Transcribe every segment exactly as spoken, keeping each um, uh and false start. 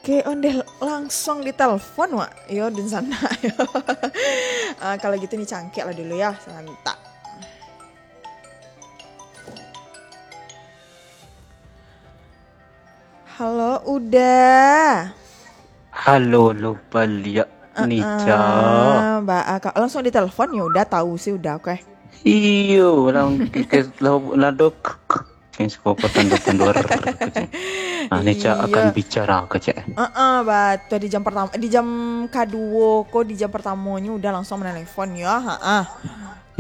Oke, ondeh langsung ditelepon, Wak. Yo, dunsanak, yo. Ah, kalau gitu ni cangkek lah dulu ya, serentak. Halo, Uda. Halo, lo baliak, Nica. Ah, ba, ah, ka-, langsung ditelepon, ya udah tahu sih, udah, oke. Iyo, orang ke, ke, lah, lah, dok. Sing suko ko tanduar-tanduar kecek. Ah, Nica Iyo. akan bicara kecek. Heeh, batua, di jam pertama, di jam kaduo ko, di jam pertamonyo udah langsung menelepon yo. Heeh.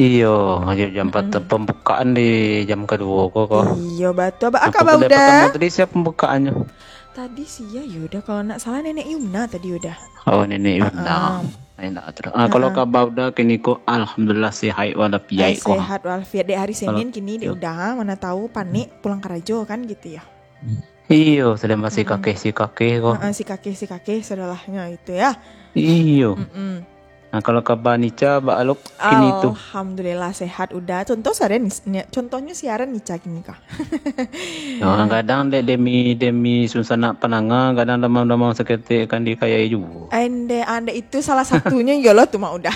Iyo, aja jam empat Mm-mm. pembukaan di jam kaduo ko, ko. Iyo, batua. Ba, Apa kaba udah udah? pertama tadi siapa pembukaannya? Tadi sia yo udah, kalau nak salah Nenek Yumna tadi udah. Oh, Nenek Yumna. Heeh. Enak terus. Ah, kalau Heeh. kaba udah kini ko, alhamdulillah sehat walafiat Ai, ko. sehat walafiat. Dek hari Kalau Senin kini dek Iyo. udah, mana tahu panik pulang karajo kan gitu ya. Iyo, sudah masih Hmm. kakeh si kakeh ko. Heeh, si kakeh, si kakeh, sudahlah, ya, itu ya. Iyo. Mm-mm. Nah, kalau kaba Nica, ba alok kini tu. Alhamdulillah, sehat udah. Contoh siaran ni, ni, contohnya siaran Nica kini ka. Ya, kadang dek demi, demi sunsanak pananga, kadang damam-damam saketek kan dikayai juo. Ande, ande itu salah satunya iyalah tu mak udah.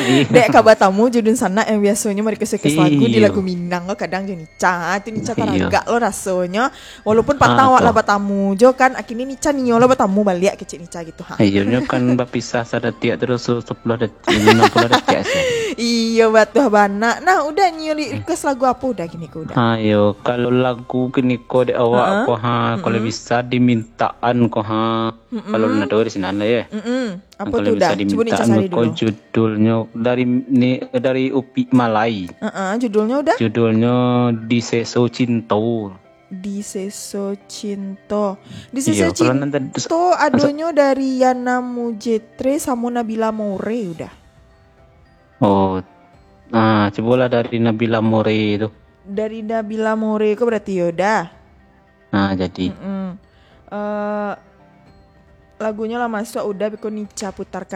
Iyo. Dek kaba tamu jo dunsanak yang biasonyo merequest-request lagu di Iyo. lagu Minang ko kadang jo Nica. Ah, tu Nica Iyo. taragak lo rasonyo. Walaupun patang Ah, awak tu. lah batamu jo kan, akhirnya Nica nio lah batamu baliak kecek Nica gitu ha. Iyo, nyo kan bapisah sadatiak terus se-, sepuluh detik, lima puluh detik sih. Iyo, batua bana. Nah, udah nio li-, Hmm. request lagu apa udah kini ko udah? Ayo, kalau lagu kini ko dek awak Heeh. ko ha, kalau Mm-mm. bisa dimintaan ko ha. Mm-mm. Kalau nak tahu di sini lah ya. Mm-mm. Apa Kalau tu bisa udah? Cuba Nica dimintaan cari ko dulu. judulnyo dari ni, dari Upik Malai. Heeh, judulnya udah? Judulnya Di Seso Cinto. Di Seso Cinto. Di Seso Iyo, kalau nanti Cinto adonyo dari Yana Mujetre samo Nabila More udah. Oh. Ah, cubolah dari Nabila More tu. Dari Nabila More ko berarti yo udah. Ah, jadi. Mm-mm. Eh, lagunyo lah masuk udah, beko Nica putarkan